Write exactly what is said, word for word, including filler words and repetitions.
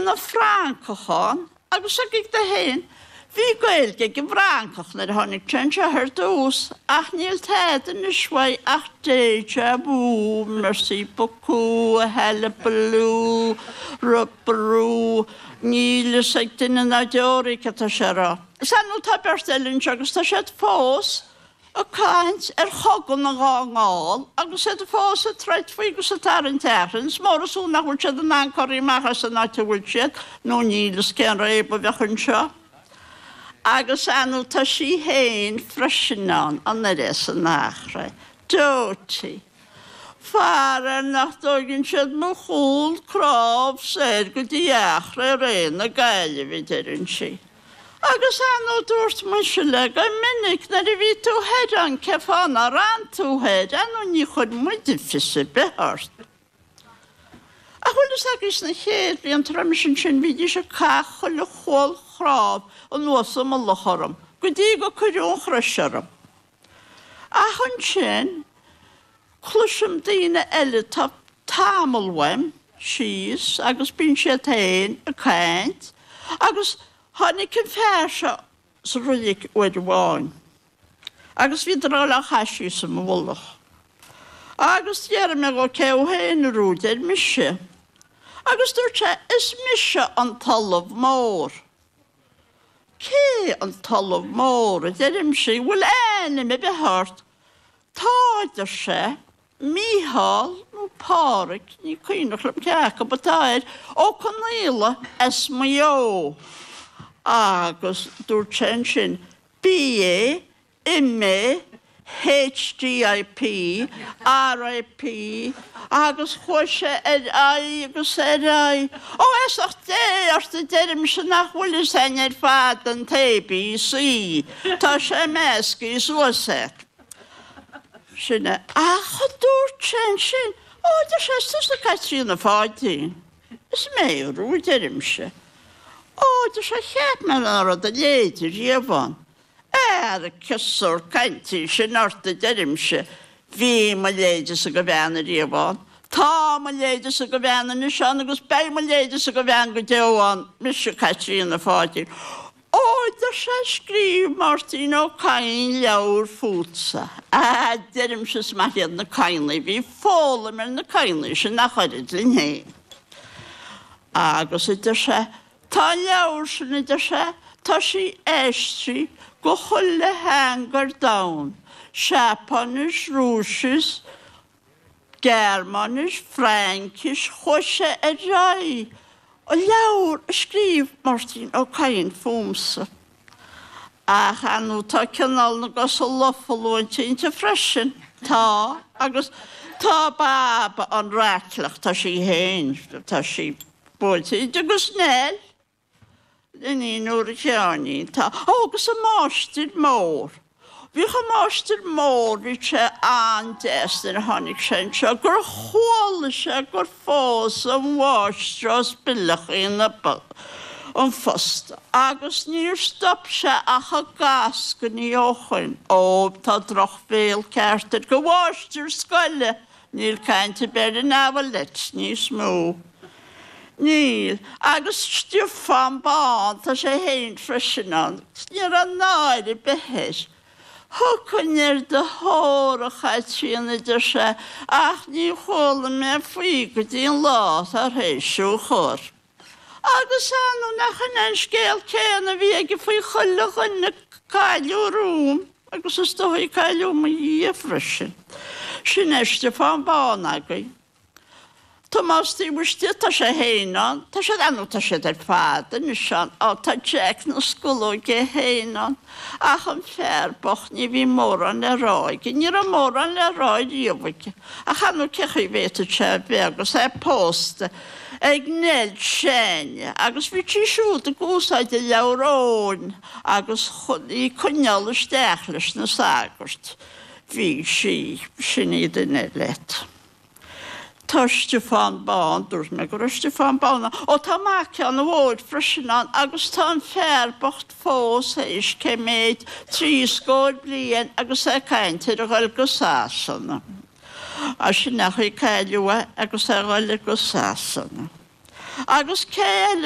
ina Fhrancach ann agus agaibh do fhéin. Bhí Gaeilge ag an bhFrancach nuair a tháinig sé anseo ar dtús ach níl tada anois uaidh ach déjà vu, merci beaucoup, hullabaloo, rubaroo, níl fhios ag duine ná deoraí cad tá sé a rá. Is ar ndóigh tá beirt eile anseo agus tá siad fós ag caint ar Chogadh na Dhá nGall agus iad fós ag troid faoi agus ag tarraingt achrainn. Is mór is fiú nach bhfuil siad in ann corraí amach as an áit a bhfuil siad nó níl fhios cén réab a bheadh anseo. Agus ar ndóigh tá sí féin freisin ann, an oiread san Eachréidh. Dotie. Faraor nach dtóigeann siad mo chúl cnámh soir go dtí Eachréidh Ré na Gaillimhe, deireann sí. Agus ar ndóigh dúirt mise léi go minic nuair a bhí tú thoir ann cén fáth nár fhan tú thoir, ar ndóigh ní chuir muide fios ar bith ort. Ach bhfuil fhios agaibh sna chéad bhlianta roimis ansin bhídís ag caitheamh chuile chual chnámh anuas i mullach orm go dtí go cuireadh an chrois orm. Ach ansin cloisim daoine eile atá tamall uaim síos agus bíonn siad féin ag caint agus tháinig an fear seo sa roilig uair amháin agus bhíodar ag dul á chaitheamh síos i mo mhullach. Agus d'fhiafraigh mé dhó cé thú féin a Rúid, ar mise. Agus dúirt sé, is mise an tOllamh Mór. Cé an tOllamh Mór, a deirimse, an bhfuil ainm ar bith ort? Tá, a deir sé, Mícheál nó Páraic, ní cuimhneach liom cé acu atá air, Ó Conaola as Maigh Eo. Agus dúirt sé ansin, BA, MA, HDIP, RIP, agus chuaigh sé ar aghaidh agus ar aghaidh. Ó, feasacht Dé ort, a deirimse, nach bhfuil fhios a'inn ar fad an t-ABC, tá sé meascaí suas a't. Sin é. Ach dúirt sé ansin, Ó, a deir sé, is tusa Caitríona Pháidín. Is mé, a Rúid, a deirimse. Ó, a deir sé, cheap mé nach raibh do leithéide riamh ann. Ara, cén sórt cainte í sin ort, a deirimse. Bhí mo leithéidese de bhean ariamh ann. Tá mo leithéidese de bhean anois ann agus beidh mo leithéidese de bhean go deo ann, mise Caitríona Pháidín. Ó, a deir sé, scríobh Máirtín Ó Cadhain leabhar fútsa. A deirimse, is maith iad na Cadhnaigh, bhí foghlaim ar na Cadhnaigh sin ach oiread linn féin. Agus, a deir sé, tá an leabhar sin, a deir sé, tá sí aistrithe go chuile theanga ar domhan, Seapáinis, Rúisis, Gearmáinis, Fraincis, chuaigh sé ar aghaidh, an leabhar a scríobh Máirtín Ó Cadhain fúmsa. Ach ar ndóigh tá cineál na gcosa lofa luaite inti freisin. Tá, agus tá Baba an Raicleach, tá sí féin, tá sí buailte inti agus Nell. Iníon úr Sheáinín. Tá. Ó, agus an máistir mór. Bhíodh an máistir mór, bhí sé an-deas nuair a tháinig sé anseo, gur chuala sé gur phós an mháistreás Bileachaí na an phost agus níor stop sé ach ag eascainí ó shoin. Ó, tá drochbhéal ceart air go mháistir scoile! Níl caint ar bith ar an Avalette níos mó. Níl. Agus Stiofán Bán, tá sé féin freisin ann. Ní raibh náire ar bith air. Thiocfainn ar do thóir, a Chaitríona, a deir sé, ach ní chuala mé faoi go dtí an lá tar éis thú a chur. Agus ar ndóigh nach in é an scéal céanna a bhí aige faoi chuile dhuine a cailleadh romham, agus is dóigh a cailleadh i mo dhiaidh freisin. Sin é Stiofán Bán againn. Tomás taobh istigh, tá sé féin ann, tá siad, ar ndóigh tá siad ar fad anois ann, á tá Jack na Scolóige é féin ann, ach an fear bocht ní bhí mórán le rá aige, ní raibh mórán le rá riamh aige, ach ar ndóigh cén chaoi a bhféadfadh sé a bheith agus é pósta ag Nell Seánie agus bhí sí siúd ag úsáid a leabhar Eoin agus chun í coinneáil isteach leis na sagairt bhí sí, sin í duine leat. Tá Stiofán Bán, dúirt mé go raibh Stiofán Bán ann. Ó tá mac Sheáin Mhóir freisin ann agus tá an fear bocht fós théis cé méid, trí scór bliain agus é ag caint ar a dhul go Sasana. Á sin é an chaoi a cailleadh é agus é a dhul go Sasana. Agus cé eile